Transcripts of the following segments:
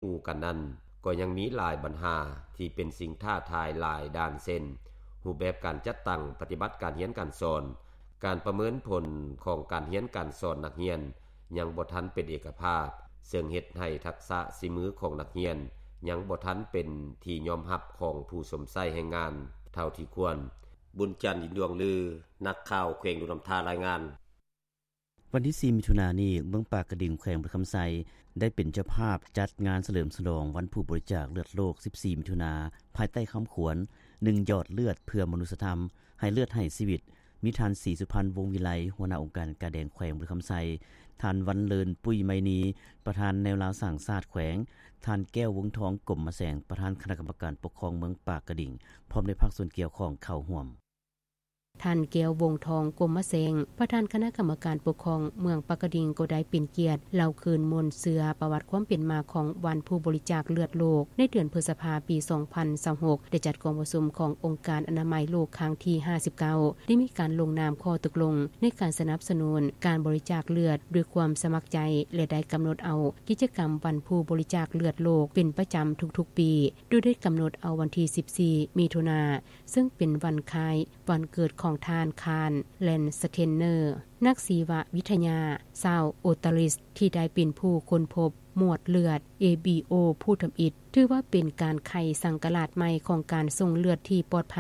ຄູ່ກັນນັ້ນ ກໍຍັງມີຫຼາຍບັນຫາທີ່ເປັນສິ່ງທ້າທາຍຫຼາຍດ້ານ ເຊັ່ນ ຮູບແບບການຈັດຕັ້ງປະຕິບັດການຮຽນການສອນ, ການປະເມີນຜົນຂອງການຮຽນການສອນນັກຮຽນຍັງບໍ່ທັນເປັນເອກະພາບ, ເຊິ່ງເຮັດໃຫ້ທັກສະສີມືຂອງນັກຮຽນຍັງບໍ່ທັນເປັນທີ່ຍອມຮັບຂອງຜູ້ຊົມໃຊ້ແຮງງານເທົ່າທີ່ຄວນ. ບຸນຈັນ ອິນດວງລື, ນັກຂ່າວແຂວງຫຼວງນ້ຳທາ ລາຍງານ. ວັນທີສີ່ ມິຖຸນານີ້, ເມືອງປາກກະດິງ ແຂວງບໍລິຄຳໄຊ ໄດ້ເປັນເຈົ້າພາບຈັດງານສະເຫຼີມສະຫຼອງວັນຜູ້ບໍລິຈາກເລືອດໂລກ ສິບສີ່ ມິຖຸນາ, ພາຍໃຕ້ຄຳຂວັນ ໜຶ່ງ ຢອດເລືອດເພື່ອມະນຸດສະທຳ, ໃຫ້ເລືອດໃຫ້ຊີວິດ. ມີທ່ານ ສີສຸພັນ ວົງວິໄລ, ຫົວໜ້າອົງການກາແດງແຂວງບໍລິຄຳໄຊ, ທ່ານ ວັນເລີນ ປຸ້ຍໄມນີ, ປະທານແນວລາວສ້າງຊາດແຂວງ, ທ່ານ ແກ້ວ ວົງທອງ ກົມມະແສງ, ປະທານຄະນະກຳມະການປົກຄອງເມືອງປາກກະດິງ, ພ້ອມດ້ວຍພາກສ່ວນກ່ຽວຂ້ອງເຂົ້າຮ່ວມ. ທ່ານ ແກ້ວ ວົງທອງ ກົມມະແສງ, ປະທານຄະນະກຳມະການປົກຄອງເມືອງປາກກະດິງ ກໍໄດ້ເປັນກຽດເລົ່າຄືນມູນເຊື້ອປະຫວັດຄວາມເປັນມາຂອງວັນຜູ້ບໍລິຈາກເລືອດໂລກ. ໃນເດືອນພຶດສະພາ ປີສອງພັນຊາວຫົກ ໄດ້ຈັດກອງປະຊຸມຂອງອົງການອະນາໄມໂລກຄັ້ງທີຫ້າສິບເກົ້າ ໄດ້ມີການລົງນາມຂໍ້ຕົກລົງໃນການສະໜັບສະໜູນການບໍລິຈາກເລືອດດ້ວຍຄວາມສະໝັກໃຈ ແລະ ໄດ້ກຳນົດເອົາກິດຈະກຳວັນຜູ້ບໍລິຈາກເລືອດໂລກເປັນປະຈຳທຸກໆປີ, ໂດຍໄດ້ກຳນົດເອົາວັນທີສິບສີ່ ມິຖຸນາ ເຊິ່ງເປັນວັນຄ້າຍວັນເກີດຂອງທ່ານ ຄານ ແລນສະເທນເນີ ນັກຊີວະວິທະຍາຊາວອົດຕະຣິສ ທີ່ໄດ້ເປັນຜູ້ຄົ້ນພົບໝວດເລືອດ ເອບີໂອ ພູທຳອິດ, ຖືວ່າເປັນການໄຂສັງກະລາດໃໝ່ຂອງການສົ່ງເລືອດທີ່ປອດໄພ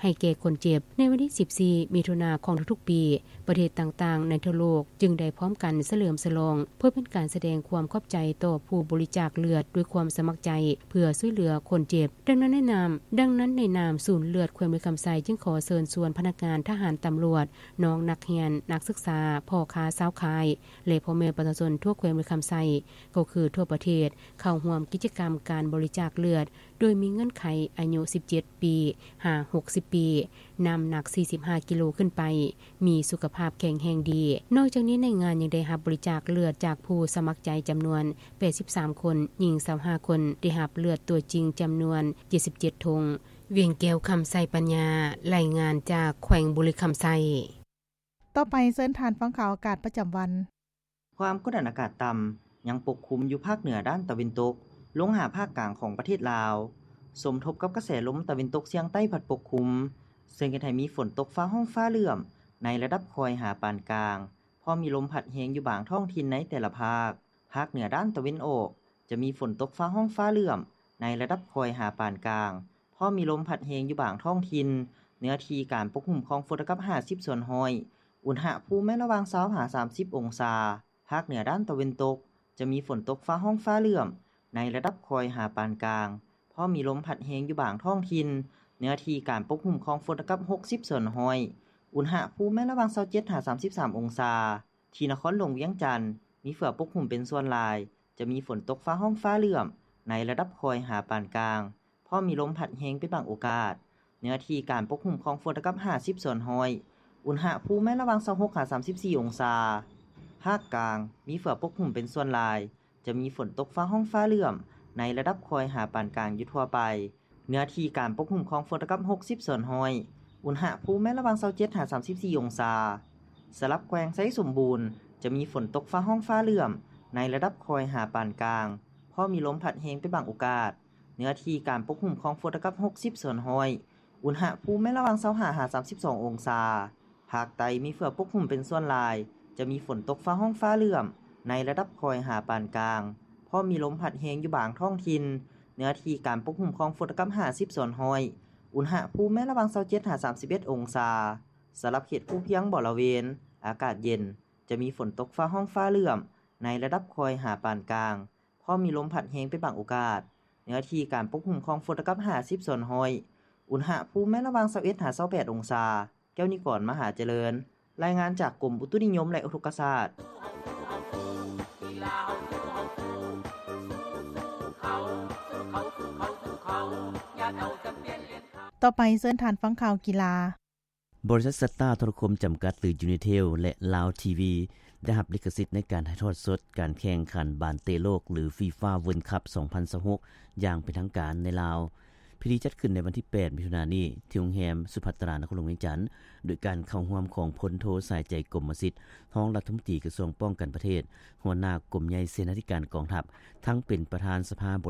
ໃຫ້ແກ່ຄົນເຈັບ. ໃນວັນທີສິບສີ່ ມິຖຸນາຂອງທຸກໆປີ, ປະເທດຕ່າງໆໃນທົ່ວໂລກຈຶ່ງໄດ້ພ້ອມກັນສະເຫຼີມສະຫຼອງ ເພື່ອເປັນການສະແດງຄວາມຂອບໃຈຕໍ່ຜູ້ບໍລິຈາກເລືອດດ້ວຍຄວາມສະໝັກໃຈ ເພື່ອຊ່ວຍເຫຼືອຄົນເຈັບ. ດັ່ງນັ້ນໃນນາມ, ດັ່ງນັ້ນໃນນາມສູນເລືອດແຂວງບໍລິຄຳໄຊ ຈຶ່ງຂໍເຊີນຊວນພະນັກງານ, ທະຫານ, ຕຳຫຼວດ, ນ້ອງນັກຮຽນ, ນັກສຶກສາ, ພໍ່ຄ້າຊາວຂາຍ ແລະ ພໍ່ແມ່ປະຊາຊົນທົ່ວແຂວງບໍລິຄຳໄຊ ກໍຄືທົ່ວປະເທດ ເຂົ້າຮ່ວມກິດຈະກຳການບໍລິຈາກເລືອດ ໂດຍມີເງື່ອນໄຂອາຍຸສິບເຈັດປີຫາຫົກສິບປີ, ນ້ຳໜັກສີ່ສິບຫ້າກິໂລຂຶ້ນໄປ, ມີສຸຂະພາບແຂງແຮງດີ. ນອກຈາກນີ້ໃນງານຍັງໄດ້ຮັບບໍລິຈາກເລືອດຈາກຜູ້ສະໝັກໃຈຈຳນວນແປດສິບສາມຄົນ, ຍິງຊາວຫ້າຄົນ, ໄດ້ຮັບເລືອດຕົວຈິງຈຳນວນເຈັດສິບເຈັດຖົງ. ວຽງແກ້ວ ຄຳໄຊປັນຍາ, ລາຍງານຈາກແຂວງບໍລິຄຳໄຊ. ຕໍ່ໄປເຊີນທ່ານຟັງຂ່າວອາກາດປະຈຳວັນ. ຄວາມກົດອາກາດຕ່ຳຍັງປົກຄຸມຢູ່ພາກເໜືອດ້ານຕາເວັນຕົກ ລົງຫາພາກກາງຂອງປະເທດລາວ, ສົມທົບກັບກະແສລົມຕາເວັນຕົກສຽງໃຕ້ພັດປົກຄຸມ, ເຊິ່ງເຮັດໃຫ້ມີຝົນຕົກຟ້າຮ້ອງຟ້າເຫຼື້ອມໃນລະດັບຄ່ອຍຫາປານກາງ, ພ້ອມມີລົມພັດແຮງຢູ່ບາງທ້ອງຖິ່ນໃນແຕ່ລະພາກ. ພາກເໜືອດ້ານຕາເວັນອອກ ຈະມີຝົນຕົກຟ້າຮ້ອງຟ້າເຫຼື້ອມໃນລະດັບຄ່ອຍຫາປານກາງ, ພ້ອມມີລົມພັດແຮງຢູ່ບາງທ້ອງຖິ່ນ, ເນື້ອທີ່ການປົກຄຸມຂອງຝົນເທົ່າກັບຫ້າສິບສ່ວນຮ້ອຍ, ອຸນຫະພູມແມ່ນລະຫວ່າງຊາວຫາສາມສິບອົງສາ. ພາກເໜືອດ້ານຕາເວັນຕົກ ຈະມີຝົນຕົກຟ້າຮ້ອງຟ້າເຫຼື້ອມໃນລະດັບຄ່ອຍຫາປານກາງ, ພ້ອມມີລົມພັດແຮງຢູ່ບາງທ້ອງຖິ່ນ, ເນື້ອທີ່ການປົກຄຸມຂອງຝົນເທົ່າກັບຫົກສິບສ່ວນຮ້ອຍ, ອຸນຫະພູມແມ່ນລະຫວ່າງຊາວເຈັດຫາສາມສິບສາມອົງສາ. ທີ່ນະຄອນຫຼວງວຽງຈັນ ມີເຝືອປົກຫຸ້ມເປັນສ່ວນຫຼາຍ, ຈະມີຝົນຕົກຟ້າຮ້ອງຟ້າເຫຼື້ອມໃນລະດັບຄ່ອຍຫາປານກາງ, ພ້ອມມີລົມພັດແຮງເປັນບາງໂອກາດ. ເນື້ອທີ່ການປົກຫຸ້ມຂອງຝົນເທົ່າກັບຫ້າສິບສ່ວນຮ້ອຍ, ອຸນຫະພູມແມ່ນລະຫວ່າງຊາວຫົກຫາສາມສິບສີ່ອົງສາ. ພາກກາງ ມີເຝືອປົກຫຸ້ມເປັນສ່ວນຫຼາຍ, ຈະມີຝົນຕົກຟ້າຮ້ອງຟ້າເຫຼື້ອມໃນລະດັບຄ່ອຍຫາປານກາງຢູ່ທົ່ວໄປ. ເນື້ອທີ່ການປົກຫຸ້ມຂອງຝົນເທົ່າກັບຫົກສິບສ່ວນຮ້ອຍ, ອຸນຫະພູມແມ່ນລະຫວ່າງຊາວເຈັດຫາສາມສິບສີ່ອົງສາ. ສຳລັບແຂວງໄຊສົມບູນ ຈະມີຝົນຕົກຟ້າຮ້ອງຟ້າເຫຼື້ອມໃນລະດັບຄ່ອຍຫາປານກາງ, ພໍມີລົມພັດແຮງເປັນບາງໂອກາດ. ເນື້ອທີ່ການປົກຫຸ້ມຂອງຝົນເທົ່າກັບຫົກສິບສ່ວນຮ້ອຍ, ອຸນຫະພູມແມ່ນລະຫວ່າງຊາວຫ້າຫາສາມສິບສອງອົງສາ. ພາກໃຕ້ມີເຝືອປົກຫຸ້ມເປັນສ່ວນຫຼາຍ, ຈະມີຝົນຕົກຟ້າຮ້ອງຟ້າເຫຼື້ອມໃນລະດັບຄ່ອຍຫາປານກາງ, ພໍມີລົມພັດແຮງຢູ່ບາງທ້ອງຖິ່ນ. ເນື້ອທີ່ການປົກຫຸ້ມຂອງຝົນເທົ່າກັບຫ້າສິບສ່ວນຮ້ອຍ, ອຸນຫະພູມແມ່ນລະຫວ່າງຊາວເຈັດຫາສາມສິບເອັດອົງສາ. ສຳລັບເຂດພູພຽງບໍລະເວນ ອາກາດເຢັນ, ຈະມີຝົນຕົກຟ້າຮ້ອງຟ້າເຫຼື້ອມໃນລະດັບຄ່ອຍຫາປານກາງ, ພໍມີລົມພັດແຮງເປັນບາງໂອກາດ. ເນື້ອທີ່ການປົກຫຸ້ມຂອງຝົນເທົ່າກັບຫ້າສິບສ່ວນຮ້ອຍ, ອຸນຫະພູມແມ່ນລະຫວ່າງຊາວເອັດຫາຊາວແປດອົງສາ. ແກ້ວນິກອນ ມະຫາຈະເລີນ, ລາຍງານຈາກກົມອຸຕຸນິຍົມ ແລະ ອຸທົກກະສາດ. ຕໍ່ໄປເຊີນທ່ານຟັງຂ່າວກິລາ. ບໍລິສັດ Star Telecom ຈຳກັດ ຫຼື Unitel ແລະ Lao TV ໄດ້ຮັບລິຂະສິດໃນການຖ່າຍທອດສົດການແຂ່ງຂັນບານເຕະໂລກ ຫຼື FIFA World Cup ສອງພັນຊາວຫົກ ຢ່າງເປັນທາງການໃນລາວ. ພິທີຈັດຂຶ້ນໃນວັນທີ ແປດ ມິຖຸນານີ້ ທີ່ໂຮງແຮມສຸພັດຕຣາ ນະຄອນຫຼວງວຽງຈັນ ໂດຍການເຂົ້າຮ່ວມຂອງພົນໂທ ສາຍໃຈ ກົມມະສິດ ຮອງລັດຖະມົນຕີກະຊວງປ້ອງກັນປະເທດ, ຫົວໜ້າກົມໃຫຍ່ເສນາທິການກອງທັບ, ທັງເປັນປະທານສະພາ